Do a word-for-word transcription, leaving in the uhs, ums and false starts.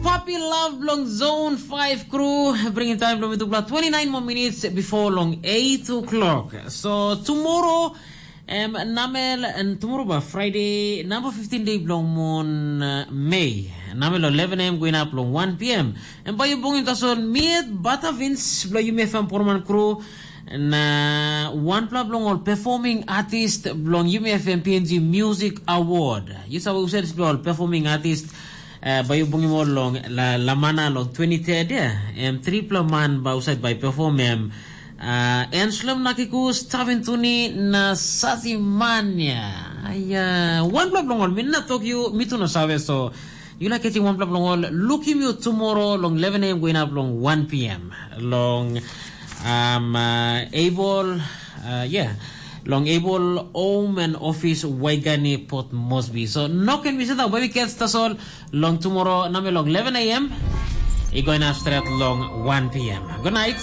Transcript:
Papi Love bilong Zone five crew bringing time bilong mitupela twenty-nine more minutes before long eight o'clock. So tomorrow, em namel and tomorrow ba Friday, number fifteen day bilong mon uh, May. Namel eleven a.m. going up long one p.m. And by you bongin tasol miet Batavins bilong you may fan Porman crew. Na wanpela bilong ol performing artist bilong Yumi F M P N G Music Award. Yu save uset bilong ol performing artist uh, bai yu bungim ol long la, Lamana long twenty-third ya. Em tripla man ba uset bai perform em uh, Enslem Nakikus, Tavintuni na Satimania. Aya, wanpela bilong ol mi na tok yu, mi tu na save so. You like getting one block long all. Looking you tomorrow long eleven a.m. going up long one p.m. Long um uh, able uh, yeah. Long able home and office Waigani Port Moresby. So no can be said that we catch us all long tomorrow number long eleven a.m. It going up straight long one p.m. Good night.